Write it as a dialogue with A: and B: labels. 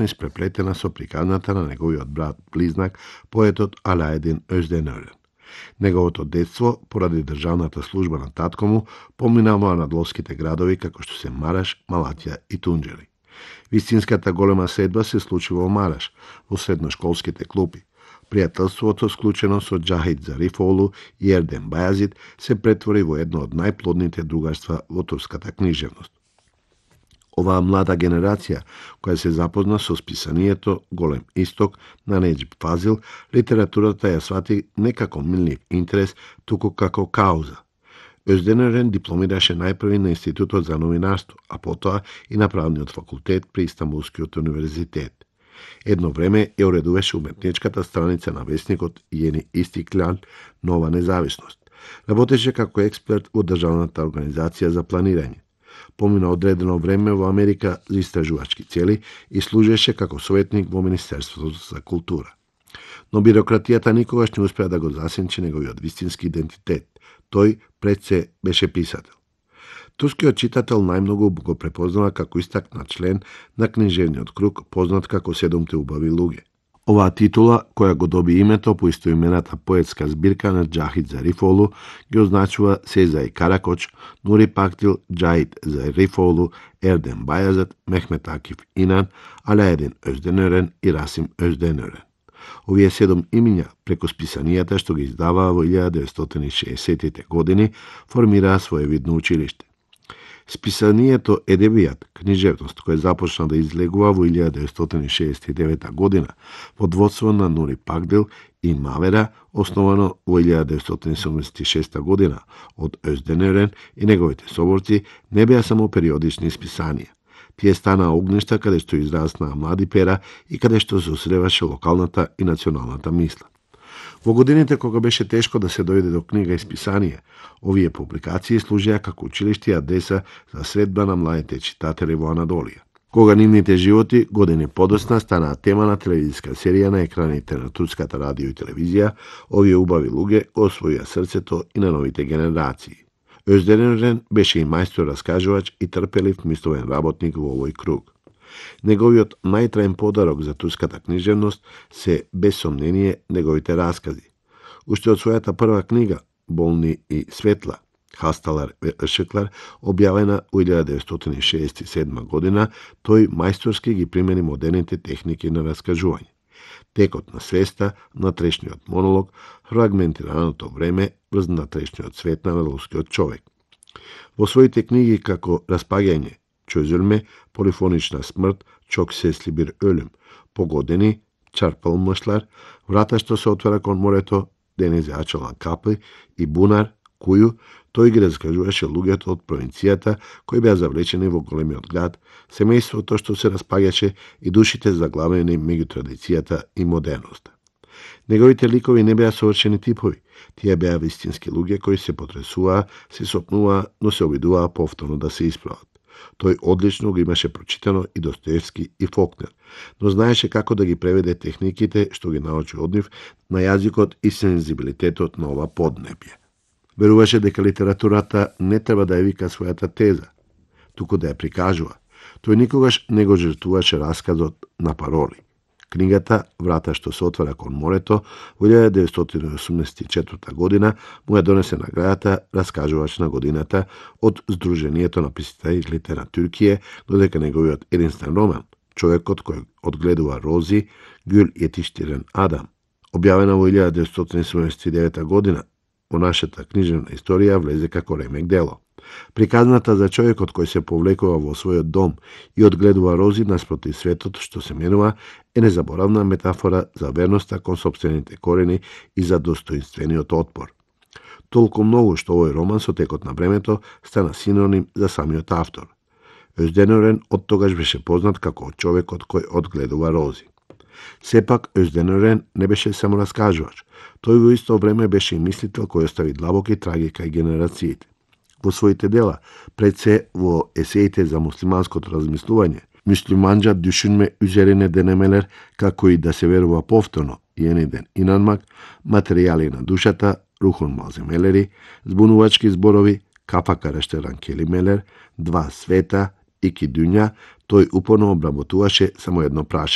A: испреплетена со приказната на неговиот брат близнак, поетот Алаедин Özdенören. Неговото детство, поради државната служба на татко му, поминава над ловските градови како што се Мараш, Малатја и Тунџери. Вистинската голема следба се случи во Мараш, во средношколските клупи. Пријателството, склучено со Џахид Зарифолу и Ердем Бајазид, се претвори во едно од најплодните другарства во турската книжевност. Оваа млада генерација, која се запозна со списанието Голем исток на Неџиб Фазил, литературата ја свати не како милнив интерес, туку како кауза. Özdенören дипломираше најпрви на Институтот за новинарство, а потоа и на правниот факултет при Истанбулскиот универзитет. Едно време ја уредуваше уметничката страница на весникот Јени Истиклал Нова независност. Работеше како експерт во државната организација за планирање. Помина одредено време во Америка за истражувачки цели и служеше како советник во Министерството за култура. Но бирократијата никогаш не успеа да го засенчи неговиот вистински идентитет. Тој пред се беше писател. Турскиот читател најмногу го препознава како истакнат член на книжевниот круг, познат како Седумте убави луѓе. Оваа титула, која го доби името по истоимената поетска збирка на Џахид Зарифолу, ги означува Сезај Каракоч, Нури Пактил, Џахид Зарифолу, Ердем Бајазид, Мехмет Акиф Инан, Алаедин Özdенören и Расим Özdенören. Овие 7 имиња, преку списанијата што ги издаваа во 1960-тите години, формираа своевидно училиште. Списанието Едебијат, книжевност, кој започна да излегува во 1969 година, под водство на Нури Пагдил и Мавера, основано во 1976 година од Özdенören и неговите соборци, не беа само периодични списанија. Тие станаа огништа каде што израснаа млади пера и каде што се осреваше локалната и националната мисла. Во годините кога беше тешко да се дојде до книга и списание, овие публикации служеа како училиште и адреса за средба на младите читатели во Анадолија. Кога нивните животи години подоцна станаа тема на телевизиска серија на екраните на турската радио и телевизија, овие убави луѓе го освоија срцето и на новите генерации. Özdенören беше и мајстор раскажувач и трпелив мисловен работник во овој круг. Неговиот најтраен подарок за турската книжевност се, без сомнение, неговите раскази. Уште од својата прва книга, Болни и светла, Хасталар Ишыклар, објавена во 1967 година, тој мајсторски ги примени модерните техники на раскажување. Текот на свеста, натрешниот монолог, фрагментираното време врз натрешниот свет на надолскиот човек. Во своите книги како Распаѓање, Çözülme, Полифонична смрт, Çok sesli bir ölüm, Погодени, Çarpılmışlar, Врата што се отвара кон морето, Denize açılan kapı и Бунар, Кују, тој ги раскажуваше луѓето од провинцијата кои беа завлечени во големиот град, семејството што се распаѓаше и душите заглавени меѓу традицијата и модерноста. Неговите ликови не беа совршени типови, тие беа вистински луѓе кои се потресуваа, се сопнуваа, но се обидуваа повторно да се исправат. Тој одлично го имаше прочитано и Достоевски и Фолкнер, но знаеше како да ги преведе техниките што ги научи од нив на јазикот и сензибилитетот на ова поднебје. Веруваше дека литературата не треба да ја вика својата теза, туку да ја прикажува. Тој никогаш не го жртвуваше расказот на пароли. Книгата Врата што се отвара кон морето во 1984 година му ја донесе наградата Раскажувач на годината од Сдруженијето на писателите на Туркија, додека неговиот единствен роман, Човекот кој одгледува рози, Гюл Етиштирен Адам, објавена во 1979 година, во нашата книжевна историја влезе како ремек дело. Приказната за човекот кој се повлекува во својот дом и одгледува рози наспроти светот што се менува е незаборавна метафора за верноста кон сопствените корени и за достоинствениот отпор. Толку многу што овој роман со текот на времето стана синоним за самиот автор. Özdенören од тогаш беше познат како човекот кој одгледува рози. Сепак, Özdенören не беше само раскажувач. Тој во исто време беше и мислител кој остави длабоки траги кај генерациите. Во своите дела, пред се во есеите за муслиманското размислување, Müslümanca düşünme üzerine denemeler како и да се верува повторно, Yeniden inanmak, материјали на душата, Ruhun malzemeleri, збунувачки зборови, Kafa karıştıran kelimeler, Dva sveta, Iki dünya, Тој упорно обработуваше само едно прашање.